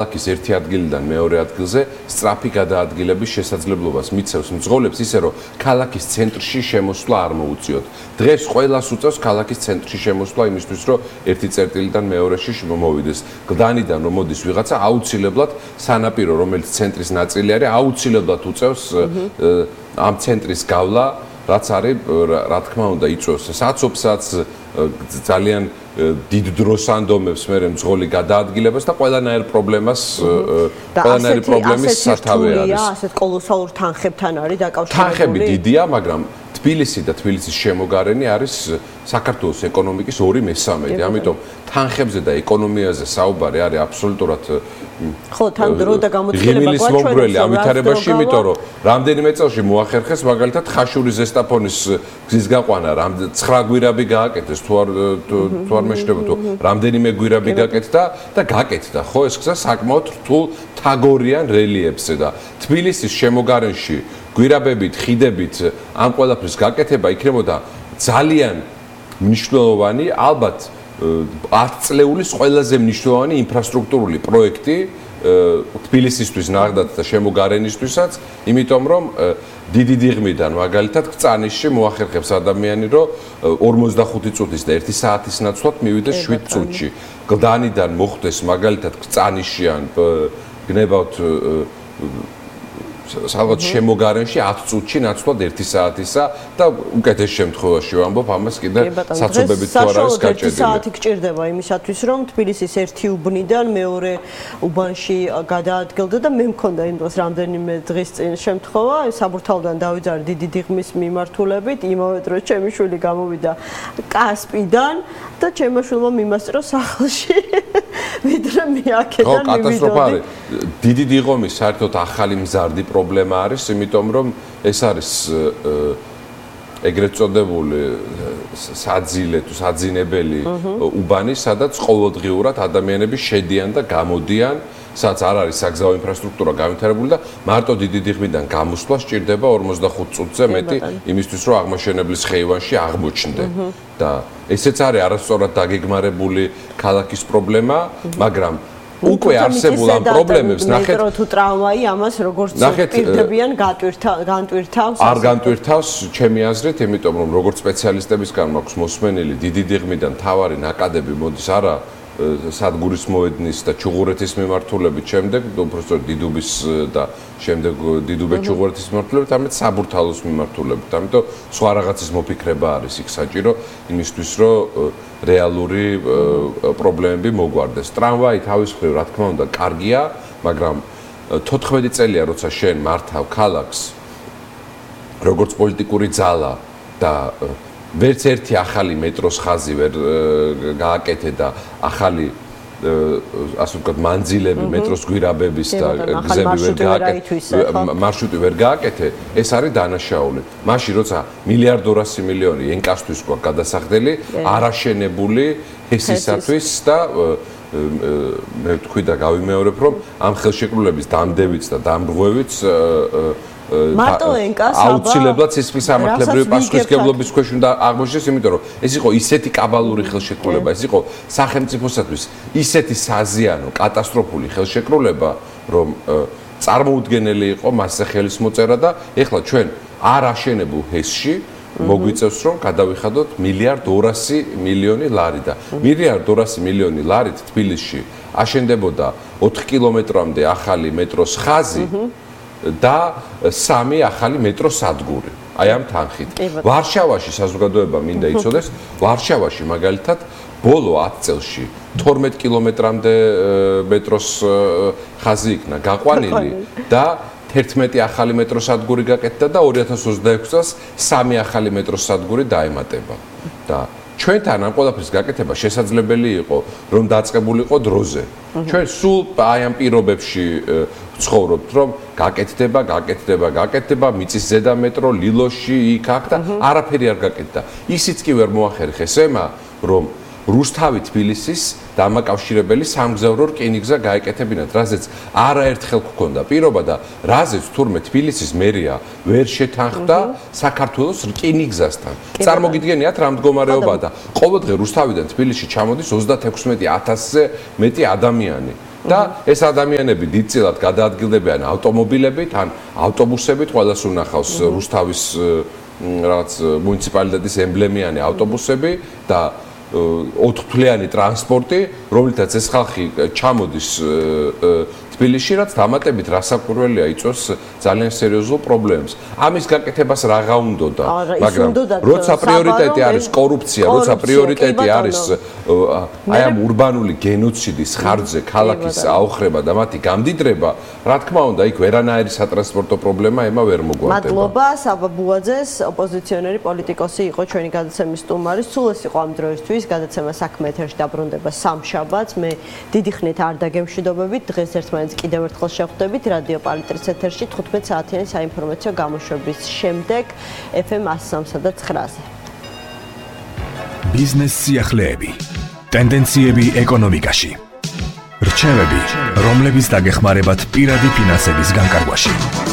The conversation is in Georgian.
ქალაქის ერთი ადგილიდან მეორე ადგილზე სწრაფი გადაადგილების შესაძლებლობას მიცევს მძღოლებს ისე რომ ქალაქის ცენტრში შემოსვლა არ მოუწიოთ. დღეს ყველას უწევს ქალაქის ცენტრში შემოსვლა იმისთვის რომ ერთი წერტილიდან მეორეში მოვიდეს. გლდანიდან რომ მოდის ვიღაცა აუცილებლად სანაპირო რომელიც ცენტრის ნაწილი არის აუცილებლად უწევს ამ ცენტრის გავლა რაც არის რა თქმა უნდა იწვევს საცობსაც ძალიან დიდ დროს ანდომებს მე მძღოლი გადაადგილებას და ყველანაირ პრობლემას პრობლემის სათავე არის. ასეთ კოლოსალურ თანხებთან არის დაკავშირებული. თანხები დიდია, მაგრამ თბილისი და თბილისის შემოგარენი არის საქართველოს ეკონომიკის 2/3. ამიტომ თანხებზე და ეკონომიაზე საუბარი არის აბსოლუტურად ხო, თან დრო და გამოცხადება გვაჩვენებს ავითარებაში, იმიტომ რომ რამდენიმე წელში მოახერხეს მაგალითად ხაშური ზესტაფონის გზის გაყვანა, 9 გვირაბი გააკეთეს თუ არ მეშდება თუ რამდენიმე გვირაბი გაკეთდა და გაკეთდა, ხო, ეს გზა საკმაოდ რთულ თაგორიან რელიეფზე და თბილისის შემოგარენში გვირაბებით, ხიდებით ამ ყველაფრის გაკეთება იქნებოდა ძალიან მნიშვნელოვანი, ალბათ 10 წლეულის ყველაზე მნიშვნელოვანი ინფრასტრუქტურული პროექტი თბილისისთვის ნახდათ და შემოგარენისთვისაც, იმიტომ რომ დიდი დიღმიდან მაგალითად კრწანისში მოახერხებს ადამიანი რომ 45 წუთის და 1 საათის ნაცვლად მივიდეს 7 წუთში. გლდანიდან მოხვდეს მაგალითად კრწანისში ან გნებავთ ალბათ შემოგარენში 10 წუთში ნაცვლად 1 საათისა და უკეთეს შემთხვევაში ვამბობ ამას კიდე საცობებით თუ არ არის გაჭედილი. 1 საათი გჭირდება იმისათვის რომ თბილისის ერთი უბნიდან მეორე უბანში გადაადგილდე და მე მქონდა იმ დროს რამდენიმე დღის წინ შემთხვევა საბურთალოდან დავიძარე დიდი დიღმის მიმართულებით იმავე დროს ჩემი შვილი გამოვიდა კასპიდან და ჩემმა შვილმა მიმასწრო სახლში ვიდრე მე აქედან მივიდოდი. კატასტროფა არის. დიდი დიღომის საერთოდ ახალი მზარდი პრობლემა არის, იმიტომ რომ ეს არის ეგრეთ წოდებული საძილე თუ საძინებელი უბანი, სადაც ყოველდღიურად ადამიანები შედიან და გამოდიან, სადაც არ არის საგზაო ინფრასტრუქტურა განვითარებული და მარტო დიდი დიღმიდან გამოსვლა სჭირდება 45 წუთზე მეტი იმისთვის რომ აღმაშენებლის ხეივანში აღმოჩნდე. და ესეც არის არასწორად დაგეგმარებული ქალაქის პრობლემა, მაგრამ უკვე არსებულ ამ პრობლემებს ნახეთ მეტრო თუ ტრამვაი ამას როგორც პირდებიან განტვირთავს არ განტვირთავს ჩემი აზრით, იმიტომ რომ როგორც სპეციალისტებისგან მაქვს მოსმენილი დიდი დიღმიდან თავარი ნაკადები მოდის არა სადგურის მოედნის და ჩუღურეთის მიმართულებით, შემდეგ უბრალოდ დიდუბის და შემდეგ დიდუბე-ჩუღურეთის მიმართულებით, ამით საბურთალოს მიმართულებით. ამიტომ სხვა რაღაცის მოფიქრება არის იქ საჭირო იმისთვის, რომ რეალური პრობლემები მოგვარდეს. ტრამვაი თავის მხრივ, რა თქმა უნდა, კარგია, მაგრამ 14 წელია, როცა შენ მართავ ქალაქს, როგორც პოლიტიკური ძალა და ვერც ერთი ახალი მეტროს ხაზი ვერ გააკეთე და ახალი ასე ვთქვათ მანძილები მეტროს გვირაბების და გზები ვერ გააკეთე, მარშრუტი ვერ გააკეთე, ეს არის დანაშაული. მაშინ როცა 1.2 მილიონი ენკასთვის გვაქვს გადასახდელი, არაშენებული ჰესისათვის და მე ვთქვი და გავიმეორებ, რომ ამ ხელშეკრულების დამდევიც და დამრღვევიც მარტო ენკას აუცილებლად სისხლის სამართლებრივი პასუხისმგებლობის ქვეშ უნდა აღმოჩნდეს, იმიტომ რომ ეს იყო ისეთი კაბალური ხელშეკრულება, ეს იყო სახელმწიფოსათვის ისეთი საზიანო, კატასტროფული ხელშეკრულება, რომ წარმოუდგენელი იყო მასზე ხელის მოწერა და ეხლა ჩვენ არ აშენებულ ჰესში მოგვიწევს რომ გადავიხადოთ 1.2 მილიონი ლარი და 1.2 მილიონი ლარით თბილისში აშენდებოდა 4 კილომეტრამდე ახალი მეტროს ხაზი და 3 ახალი მეტროს სადგური. აი ამ თანხით. ვარშავაში საზოგადოება მინდა იცოდეს, ვარშავაში მაგალითად ბოლო 10 წელში 12 კილომეტრამდე მეტროს ხაზი იქნა გაყვანილი და 11 ახალი მეტროს სადგური გაკეთდა და 2026 წელს 3 ახალი მეტროს სადგური დაემატება. და ჩვენთან ამ ყველაფრის გაკეთება შესაძლებელი იყო, რომ დაწყებულიყო დროზე. ჩვენ სულ აი ამ პირობებში ცხოვრობთ, რომ გაკეთდება, მიწის ზედა მეტრო, ლილოში, იქ აქ და არაფერი არ გაკეთდა. ისიც კი ვერ მოახერხეს ემა, რომ რუსთავი თბილისის დამაკავშირებელი სამგზავრო რკინიგზა გაეკეთებინათ, რაზეც არაერთხელ გქონდა პირობა და რაზეც თურმე თბილისის მერია ვერ შეთანხმდა საქართველოს რკინიგზასთან. წარმოგიდგენიათ რა მდგომარეობაა და ყოველდღე რუსთავიდან თბილისში ჩამოდის 36,000-ზე მეტი ადამიანი. და ეს ადამიანები დიდწილად გადაადგილდებიან ავტომობილებით ან ავტობუსებით, ყველას უნახავს რუსთავის რაღაც მუნიციპალიტეტის ემბლემიანი ავტობუსები და 4-თვლიანი ტრანსპორტი, რომლითაც ეს ხალხი ჩამოდის თბილისში, რაც დამატებით რასაკვირველია იწვევს ძალიან სერიოზულ პრობლემებს. ამის გაკეთებას რაღა უნდოდა, მაგრამ როცა პრიორიტეტი არის კორუფცია, როცა პრიორიტეტი არის აი ამ ურბანული გენოციდის ხარჯზე ქალაქის აოხრება და მათი გამდიდრება, რა თქმა უნდა, იქ ვერანაირი სატრანსპორტო პრობლემა ემა ვერ მოგვარდება. მადლობა, საბა ბუაძეს, ოპოზიციონერი პოლიტიკოსი იყო ჩვენი გადაცემის სტუმარი. სულ ეს იყო ამ დროისთვის, გადაცემა საქმე ეთერში დაბრუნდება სამშაბათს. მე დიდი ხნით არ დაგემშვიდობებით, დღეს ერთმანეთს კიდევ ერთხელ შევხვდებით რადიო პალიტრის ეთერში 15 საათიანი საინფორმაციო გამოშვების შემდეგ FM 103 და 9-ზე. ბიზნეს სიახლეები, ტენდენციები ეკონომიკაში, რჩევები, რომლებიც დაგეხმარებათ პირადი ფინანსების განკარგვაში.